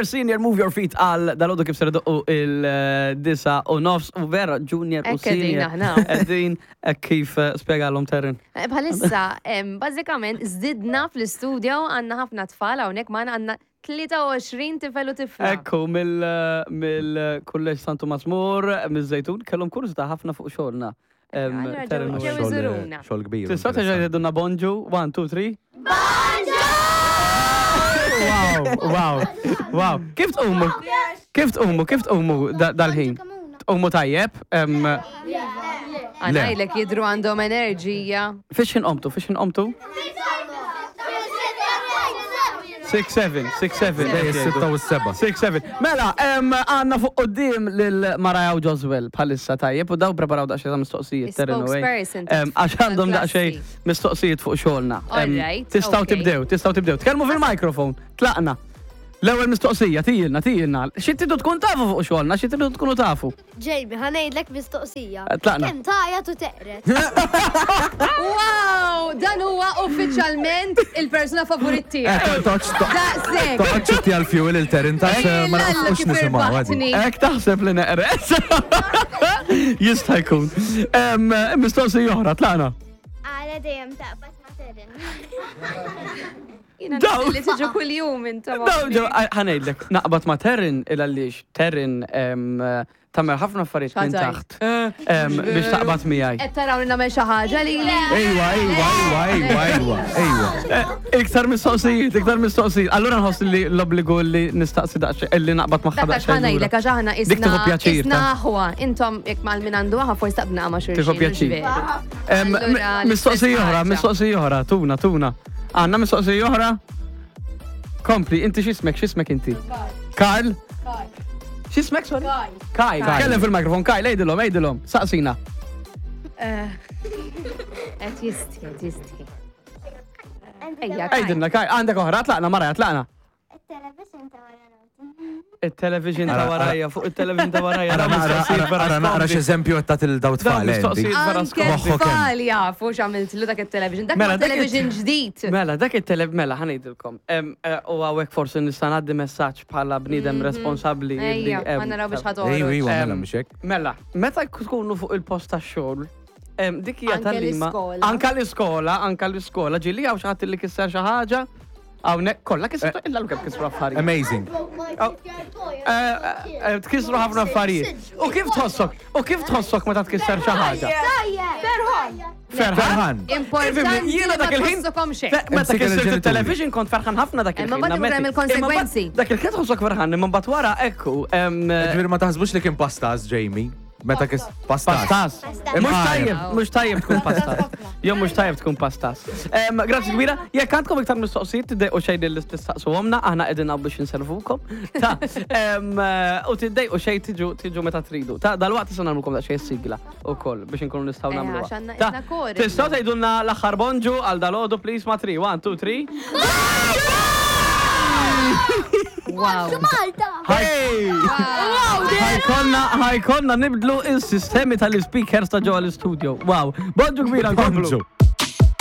Junior Senior Move Your Feet għal dalodu kif ser idoqqu il-disa u nofs u vera Junior u Hekk qegħdin Senior. aħna. Qegħdin hekk kif eh, spjegalhom Terren. Eh, Bħalissa, em, bażikament, żdidna fl-istudio għandna ħafna tfal hawnhekk magħna għandna 23 tifel u tifla. Ekku mill-kulleġġ Santu Masmur, miż-Żejtun, kellhom kurżità ħafna fuq xogħolna. Em, Allura ġew- Terren u ġew Wayne. iżuruna. Xogħol kbir. Tistgħu terġa' tgħidulna bonġu? 1, 2, 3. Wow, wow, wow. Kif tqumu? Kif tqumu? Kif tqumu da- dal-ħin? Tqumu tajjeb? Em, Għanajlek jidru għandhom enerġija. Fiex inqomtu? Fiex inqomtu? 6, 7, 6, 7. Bej is-sitta u s-seba. 6, 7. Mela, em, għanna fuq qoddim lil Maraja u Joswell bħalissa tajjeb u daw preparaw daqsxejn ta' mistoqsijiet. Terren u Wayne. Spokesperson Em, Għax għandhom tal-klassi. daqsxejn mistoqsijiet fuq xogħolna. Em, Alright, Tistgħu okay. tibdew, tistgħu tibdew. Tkellmu fil-mikrofon, tlaqna. L-ewwel mistoqsija, tijilna, tijilna. Xi tridu tkun tafu fuq xogħolna, xi tridu tkunu tafu. Jamie, ħanejdlek mistoqsija. Eh, Tlaqna. Kemm tajat u teqret? Wow, dan huwa uffiċjalment il-persuna favorit tiegħi. Toċ, Daqshekk. toċ ti għal-fuel il-terin ta' ma Illa nafux kif nisimaw għadi. irbaħtni. Ek taħseb li neqres. Jista' jkun. Em, Mistoqsija oħra, tlaqna. Għala dejjem taqbad ma' Terren. Jiena Daw. naf li tiġu kuljum intom. Daw, ġew, ħanejdlek, naqbad ma' Terrin il għaliex Terrin em, tagħmel ħafna affarijiet minn X'għadaj? taħt em, biex taqbad miegħi. Qed taraw li nagħmel xi ħaġa lili. Ejwa, ejwa, ejwa, ejwa, ejwa, ejwa. Eh, Iktar mistoqsijiet, iktar mistoqsijiet. Allura nħoss li l-obbligu li nistaqsi daqsxejn li naqbad magħha Dak għax daqsxejn. lura. ħanajdlek għax aħna Dik tieħu isna pjaċir, isna ta' aħwa. Intom jekk mal min għandu aħwa forsi taqbna ma' xulxin. Tieħu mhux pjaċir. veru. Em, Allura, mi- Mistoqsija l-istess oħra, ħaġa. mistoqsija oħra, tuna, tuna. Għanna mistoqsija oħra? Kompli, inti x'ismek, x'ismek inti? Karl. X'ismek, sorry? Kyle. Kyle. Kellem fil-mikrofon, Kyle, ejdilhom, ejdilhom, saqsina. Qed jistħi, qed jistħi. Ejja, Kyle. Ejdilna, Kyle, għandek oħra, tlaqna, Maraja, tlaqna. Il-television ta' wara nofs. Il-television ta' Ara, ara. warajja, fuq il-television ta' warajja. Ara dawn naqra, mistoqsijiet vera ara naqra skomdi. x'eżempju qed tagħti lil daw Dawn tfal. Andy. mistoqsijiet vera Anke skomdi. Moħħok hemm. tfal jafu x'għamiltlu dak it-television. Dak Mela, huwa dak it- television ġdid. Mela, dak il-tele, mela, ħanejdilkom. Em, eh, U għawek forsi nista' ngħaddi messaġġ bħala bniedem responsabbli. li, Ejja, em, ma naraw biex Ejwa, ħatoħroġ. ejwa, mela Em, mhux hekk. Mela, meta tkunu fuq il-post tax-xogħol, em, dik hija Anke tal-lima. l-iskola. Anka l-iskola, anka l-iskola, ġieli hawn xi ħadd li kisser xi ħaġa. Hawnhekk kollha kisru illa kemm kisru affarijiet. Amazing. Eh, eh, Tkissru ħafna affarijiet. U kif tħossok? U kif tħossok meta tkisser xi ħaġa? Ferħan! Ferħan. Ferħan. Importanti Jiena li ma dak il-ħin. tħossukom xejn. Fe- Meta Imsik kissirt il-ġenituri. il-television kont ferħan ħafna dak il-ħin. Imma mbagħad ikun hemm nammetti. il-konsegwenzi. Imma mbagħad Dak il-ħin tħossok ferħan, imma mbagħad wara ekku. em, Ġifieri ma taħsbux li kien pastas, Jamie. Meta kis pastas. Pastas. Mux Imqajjem. tajjeb, mux tajjeb tkun pastas. Jew mux tajjeb tkun pastas. Em, Grazzi kbira, jekk għandkom iktar mistoqsijiet tiddejqu xejn li tistaqsuhomna, aħna qegħdin hawn biex inservukom. Ta' em, eh, u tiddejqu xejn tiġu tiġu meta tridu. Ta' dalwaqt issa nagħmlukom daqsxejn sigla wkoll biex inkunu nistgħu Eh, nagħmluha. għax għandna Ta' isna kor Tistgħu illum. tgħidulna l-aħħar bonġu għal dalodu please ma' 3 1 2 3. Wow. Malta! Hey! Ħajkonna, ħajkonna nibdlu il-sistemi tal-speakers ta' ġewwa l-studio. Wow, bonġu kbira nkomplu. Bonġu.